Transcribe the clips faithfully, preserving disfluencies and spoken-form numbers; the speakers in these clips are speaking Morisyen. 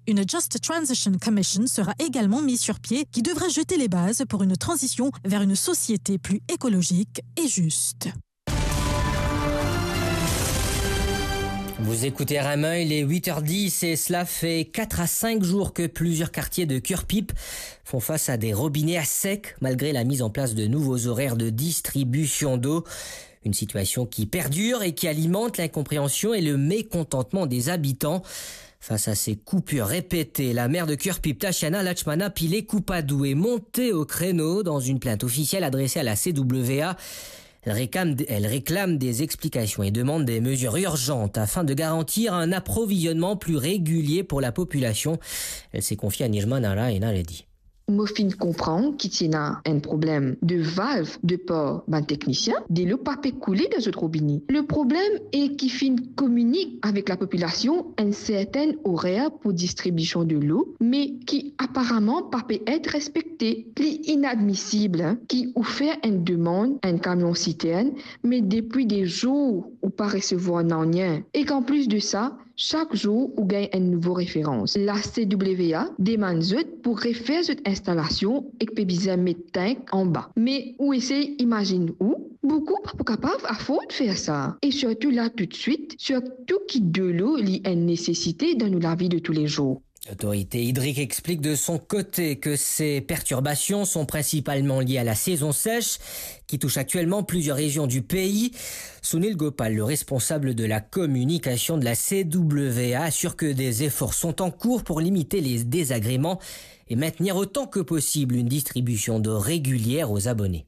Une Just Transition Commission sera également mise sur pied qui devrait jeter les bases pour une transition vers une société plus écologique et juste. Vous écoutez R M un, il est huit heures dix et cela fait quatre à cinq jours que plusieurs quartiers de Curepipe font face à des robinets à sec, malgré la mise en place de nouveaux horaires de distribution d'eau. Une situation qui perdure et qui alimente l'incompréhension et le mécontentement des habitants. Face à ces coupures répétées, la maire de Curepipe, Tatiana Lachmana Pillay-Coupadou, est montée au créneau dans une plainte officielle adressée à la C W A. Elle réclame, elle réclame des explications et demande des mesures urgentes afin de garantir un approvisionnement plus régulier pour la population. Elle s'est confiée à Nirmala Enaredi. Mo finn konpran ki ti ena enn problem de valv de par bann teknisien, delo pa pe koule dan zot robine. Le problem e ki finn kominik avek lapopilasion enn sertenn orer pou distribision delo, me ki aparaman pa pe et respekte. Li inadmisib ki ou fer enn demann enn kamion sitern, me depi de zour ou pa resevwar nanye. Ek anplis de sa, sak zour ou gagn enn nouvo referans. La C W A demann zot pou refer zot instalasion ek pe bizin met tank anba. Me ou esey imazinn ou, boukou pa pou kapav afford fer sa. E sirtou la toutswit, sirtou ki delo li enn nesesite dan nou lavi de toulezour. L'autorité hydrique explique de son côté que ces perturbations sont principalement liées à la saison sèche qui touche actuellement plusieurs régions du pays. Sunil Gopal, le responsable de la communication de la C W A, assure que des efforts sont en cours pour limiter les désagréments et maintenir autant que possible une distribution d'eau régulière aux abonnés.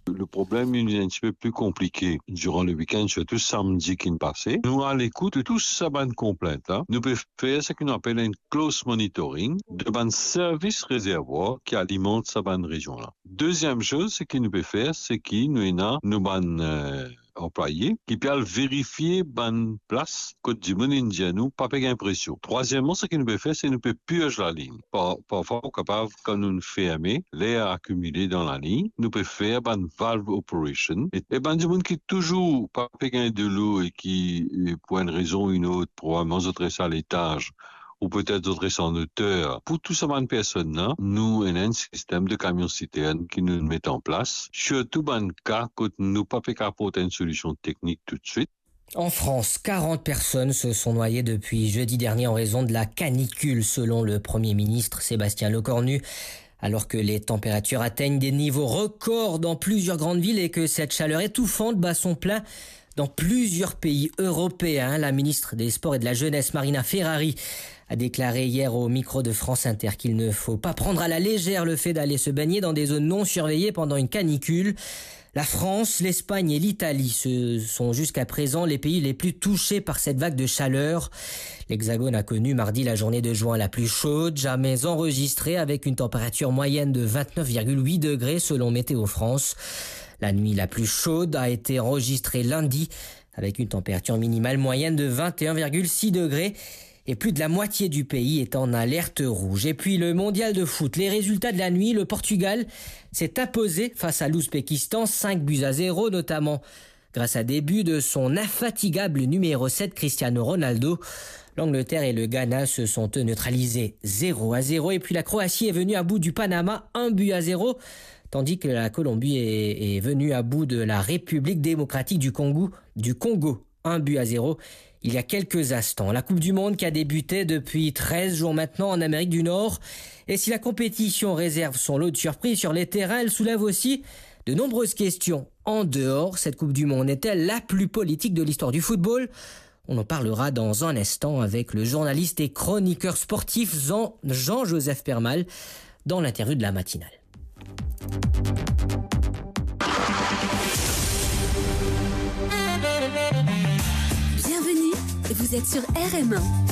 Le problem, li enn tipe pli konplike. Diran le wikenn, sirtou samdi ki pase, nou a lekout de tou sa bann konplint la. Nou pe fer seki nou apel enn close monitoring de bann servis rezervwar ki alimant sa bann rezion la. Deziem soz, seki nou pe fer, seki nou ena nou bann, eh, anplwaye ki pe al verifie bann plas kot dimoun inn dir nou pa pe gagn presion. Trwaziemman, seki nou pe fer, se nou pe pirz laliny. Par-, parfwa, ou kapav, kan nou ferme, ler akimile dan laliny, nou pe fer bann valve operation. E, e bann dimoun ki touzour pa pe gagn delo e ki, e, pou enn rezon ou enn lot, probableman zot res a letaz, ou petet zot res an oter. Pou tou sa bann personn la, nou ena enn sistem de kamion sitern ki nou met an plas, sirtou bann ka kot nou pa pe kapav aport enn solision teknik toutswit. En France, quarante personnes se sont noyées depuis jeudi dernier en raison de la canicule, selon le Premier ministre Sébastien Lecornu. Alors que les températures atteignent des niveaux records dans plusieurs grandes villes et que cette chaleur étouffante bat son plein dans plusieurs pays européens, la ministre des Sports et de la Jeunesse, Marina Ferrari, a déclaré hier au micro de France Inter qu'il ne faut pas prendre à la légère le fait d'aller se baigner dans des zones non surveillées pendant une canicule. La France, l'Espagne et l'Italie, ce sont jusqu'à présent les pays les plus touchés par cette vague de chaleur. L'Hexagone a connu mardi la journée de juin la plus chaude jamais enregistrée, avec une température moyenne de vingt-neuf virgule huit degrés selon Météo France. La nuit la plus chaude a été enregistrée lundi, avec une température minimale moyenne de vingt et un virgule six degrés et plus de la moitié du pays est en alerte rouge. Et puis le mondial de foot, les résultats de la nuit, le Portugal s'est imposé face à l'Ouzbékistan, cinq buts à zéro, notamment grâce à des buts de son infatigable numéro sept, Cristiano Ronaldo. L'Angleterre et le Ghana se sont neutralisés zéro à zéro, et puis la Croatie est venue à bout du Panama, un but à zéro, tandis que la Colombie est, est venue à bout de la République démocratique du Congo, du Congo, un but à zéro, il y a quelques instants. La Coupe du Monde qui a débuté depuis treize jours maintenant en Amérique du Nord. Et si la compétition réserve son lot de surprises sur les terrains, elle soulève aussi de nombreuses questions en dehors. Cette Coupe du Monde est-elle la plus politique de l'histoire du football ? On en parlera dans un instant avec le journaliste et chroniqueur sportif Jean, Jean-Joseph Permal dans l'interview de la matinale. Bienvenue, vous êtes sur R M un.